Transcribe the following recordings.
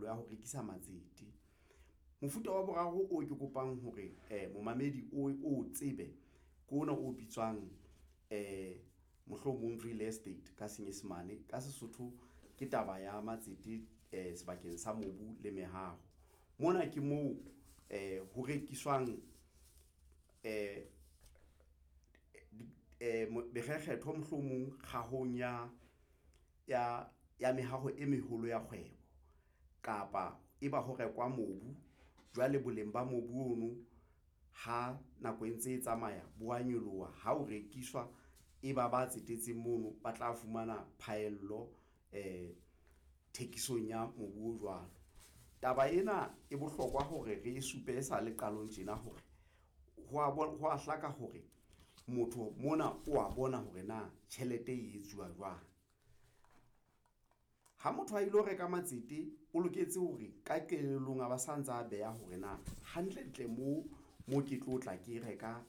tumello ya ho rekisa matsete. Mofuta wa boraro o ke kopang hore momamedi o tsebe ke ona o bitswang mohlomong real estate ka Senyesemane ka Sesotho ke taba ya matsete sebakeng sa mobu le mehaho. Mona ke moo ho rekiswang mekgekgetho mohlomong kgahong ya mehaho e meholo ya kgwebo kapa e ba ho rekwa mobu jwale boleng ba mobu ono ha nako e ntse e tsamaya bo wa nyoloha ha o rekiswa, e ba ba tsetetseng mono ba tla fumana phaello thekisong ya mobu o jwalo. Taba ena e bohlokwa hore re supe e sale qalong tjena hore hwa hlaka hore motho mona wa bona hore na tjhelete e etsuwa jwang. Ha motho a ilo reka matsete, o loketse hore ka kelellong a ba sa ntsa beha hore na hantlentle mo mo ke tlo tla ke reka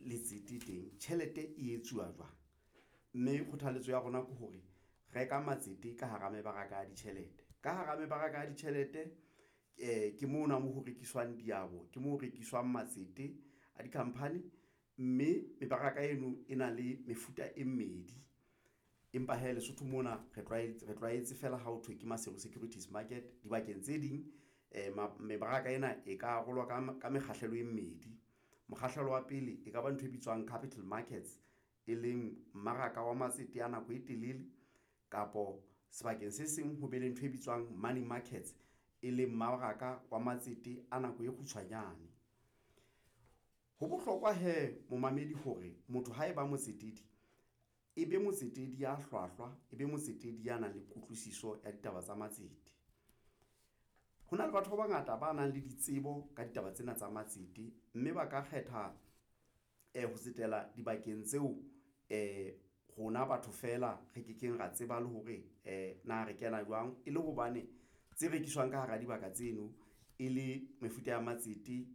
letsete teng tjhelete e etsuwa jwang, mme kgothaletso ya rona ke hore reka matsete ka hara mebaraka ya ditjhelete ka hara mebaraka ya ditjhelete ke mona mo ho rekiswang diabo, ke mo ho rekiswang matsete a dikhampani, mme mebaraka eno e na le mefuta e mmedi. Empa hee Lesotho mona re tlwaetse feela ha ho thwe ke Maseru Securities Market dibakeng tse ding mebaraka ena e ka arolwa ka mekgahlelo e mmedi. Mokgahlelo wa pele e kaba ntho e bitswang capital markets, e leng mmaraka wa matsete a nako e telele kapo sebakeng se seng ho be le ntho e bitswang money markets, e leng mmaraka wa matsete a nako e kgutshwanyane. Ho bohlokwa hee momamedi hore motho ha eba motsetedi, e be motsetedi ya hlwahlwa, e be motsetedi ya nang le kutlwisiso ya ditaba tsa matsete. Ho na le batho ba bangata ba nang le ditsebo ka ditaba tsena tsa matsete, mme ba ka kgetha ho tsetela dibakeng tseo rona batho feela re ke keng ra tseba le hore na re kena jwang e le hobane tse rekiswang ka hara dibaka tseno e le mefuta ya matsete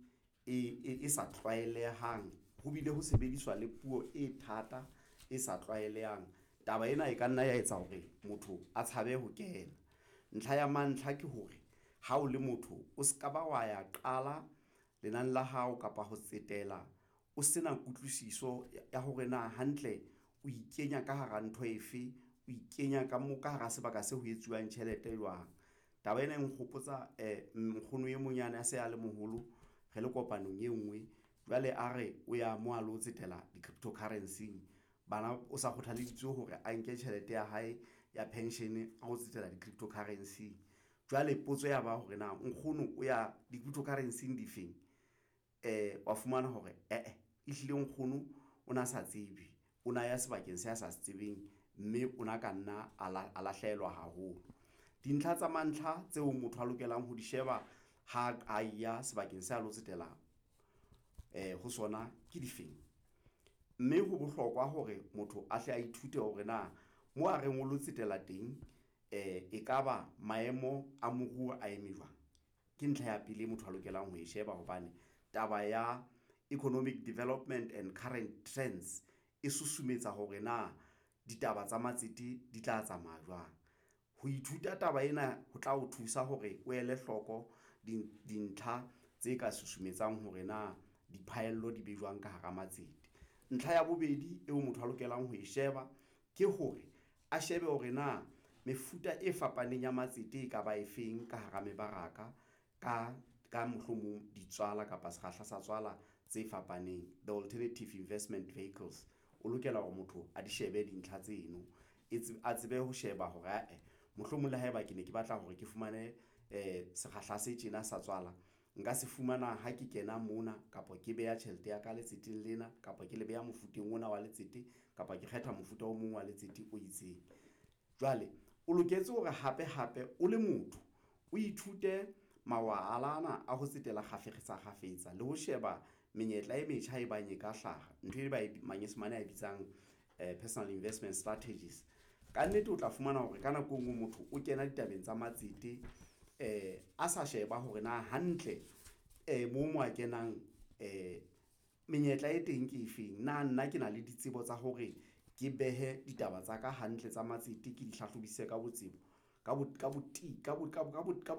e sa tlwaelehang ho bile ho sebediswa le puo e thata e sa tlwaelehang. Taba ena e ka nna ya etsa hore motho a tshabe ho kena. Ntlha ya mantlha ke hore ha o le motho o se ka ba wa ya qala lenane la hao kapa ho tsetela o se na kutlwisiso ya hore na hantle o ikenya ka hara ntho efe, o ikenya ka mo ka hara sebaka seo ho etsuwang tjhelete jwang. Taba ena e nkgopotsa nkgono e mong yane a se a le moholo re le kopanong e ngwe jwale a re o ya mo a lo tsetela di-crypto currency-ing bana o sa kgothalleditswe hore a nke tjhelete ya hae ya pension a ho tsetela di-crypto currency-ing. Jwale potso ya ba hore na nkgono o ya di-crypto currency-ing difeng wa fumana hore eh-eh ehlile nkgono o na sa tsebe, o na ya sebakeng se a sa se tsebeng, mme o na ka nna a lahlehelwa haholo. Dintlha tsa mantlha tseo motho a lokelang ho di sheba ha a ya sebakeng sa lo tsetela ho sona ke difeng, mme ho bohlokwa hore motho a hle a ithute hore na mo a reng o lo tsetela teng ekaba maemo a moruo a eme jwang. Ke ntlha ya pele motho a lokelang ho e sheba hobane taba ya economic development and current trends e susumetsa hore na ditaba tsa matsete di tla tsamaya jwang. Ho ithuta taba ena ho tla o thusa hore o ele hloko dintlha tse ka susumetsang hore na diphahello di be jwang ka hara matsete. Ntlha ya bobedi eo motho a lokelang ho e sheba ke hore a shebe hore na mefuta e fapaneng ya matsete e kaba efeng ka hara mebaraka ka mohlomong ditswala kapa sekgahla sa tswala tse fapaneng, the alternative investment vehicles. O lokela hore motho a di shebe dintlha tseno, a tsebe ho sheba hore ae mohlomong le haeba ke ne ke batla hore ke fumane sekgahla se tjena sa tswala nka se fumana ha ke kena mona kapa ke beha tjhelete ya ka letseteng lena kapa ke le beha mofuteng ona wa letsete kapa ke kgetha mofuta o mong wa letsete o itseng. Jwale o loketse hore hape hape o le motho o ithute mawala ana a ho tsetela kgafetsa kgafetsa le ho sheba menyetla e metjha e bang e ka hlaha ntho e ba manyesemane a bitsang personal investment strategies. Kannete, o tla fumana hore ka nako enngwe motho o kena ditabeng tsa matsete a sa sheba hore na hantle mo mo a kenang menyetla e teng ke efeng. Na nna ke na le ditsebo tsa hore ke behe ditaba tsa ka hantle tsa matsete, ke di hlahlobisise ka botebo ka .